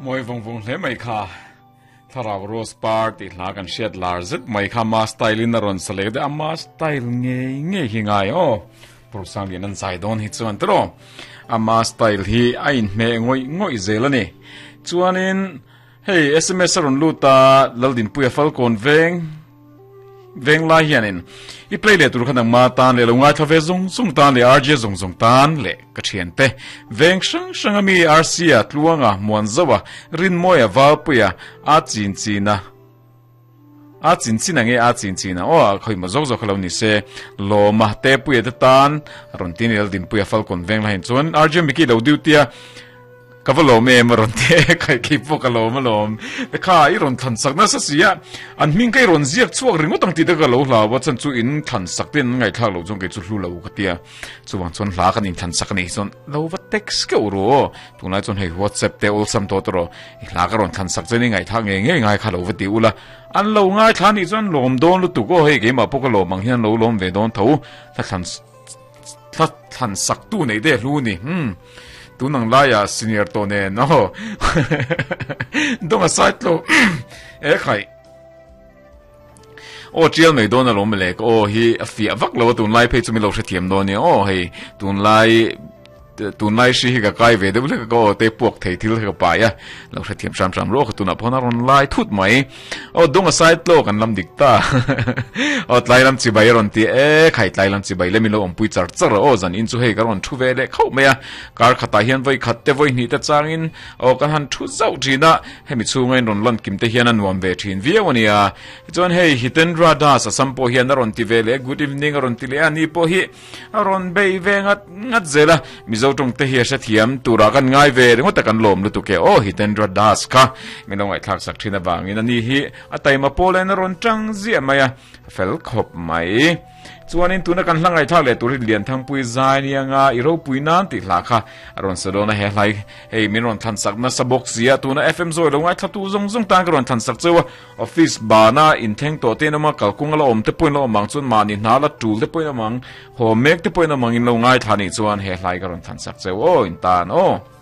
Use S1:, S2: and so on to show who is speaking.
S1: Mawi vawng vawng hle mai kha. Thlarau Rose Par tih hla kan hriat lar zet mai kha ama style in a rawn sa leh deuh ama style ngei ngei hi ngai aw. Purusang lian an zai dawn hi chuan tiraw. Ama style hi a inhmeh ngawih ngawih zel a ni. Chuanin hei sms a rawn lut a Laldinpuia Falkawn veng veng lai hianin i play leh tur kha nangma tan leh lo ngaithla ve zawng zawng tan leh RJ zawng zawng tan leh ka thian te veng hrang hrang ami RC a tluanga muan zo a rinmawia valpuia a chin china a chin chin ange a chin chin a aw khoi ma zawk zawk lo ni se lawma te puia te tan rawn tin el dinpuia falcon veng lai chuan RJ Mickey lo duty a Ka va lawm em a rawn ti e, kai kei pawh ka lawm alawm. Te kha i rawn thlan sak nasa si a, an hming kha i rawn ziak chhuak ringawt ang tih te ka lo hlau a, chan chu in thlan sak te an ngaihthlak loh chuan kei chu hlu lo ka ti a. Chuvang chuan hla kan inthlan sak a nih chuan lo va text keuh ru aw. Tunlai chuan hei WhatsApp te awlsam tawh tawh rawh, i hla ka rawn thlan sak chuan i ngaihthlak ngei ngei ngai kha lo va ti ula. An lo ngaithla nih chuan lawm dawn lutuk aw, hei keimah pawh ka lawm ang hian lo lawm ve dawn tho. Hla thlan Thla thlan sak tu nei te hlu ni. Hmm. Tun ang laia senior tawh nen aw. Dawng a side tlo. E khai. Aw tial mai dawn alawm le ka aw hi a fiah vak lo a tun lai phei chu min lo hrethiam dawn nia aw hei tun lai tun lai hri hi ka kai ve deuh hlek a ka aw te puak thei thil hi ka pai a lo hrethiam hram hram rawh ka tunah pawh a rawn lai thut mai. Aw dung a side tlo kan lam dik ta. Aw tlai lam chibai a rawn ti e khai tlai lam chibai le min lo awmpui char char a aw zan in chu hei ka rawn thu ve leh khauh mai a kar khatah hian vawi khat te vawi hnih te changin aw kan han thu zauh thin a hemi chhunga in rawn lan kim te hian a nuam ve thin viau a nia tichuan hei Hitendra Das Assam pawh hian a rawn ti ve leh good evening a rawn ti leh a ni pawh hi A rawn bei ve ngat ngat zel a, Mizo tawng te hi a hrethiam turah kan ngai ve ringawt a kan lawm lutuk e aw Hitendra Das kha min lo ngaihthlak sak thin avangin ani hi a taima pawl en a rawn tang ziah mai a, a fel khawp mai. Chuanin tuna kan hla ngaihthlak leh tur hi Lianthangpui zai nia nga i ropui nan tih hla kha a rawn sa dawn a he hlai hei min rawn thlan sak nasa bawk sia tuna FM zawi lo ngaithla tu zawng zawng tan ka rawn thlan sak cheu a. Office bana inthleng tawh te in awm a, kalkung a la awm te pawhin la awm ang chuan mahni hna la tul te pawhin awm ang, haw mek te pawhin awm ang in lo ngaithla nih chuan he hlai ka rawn thlan sak cheu aw in tan aw.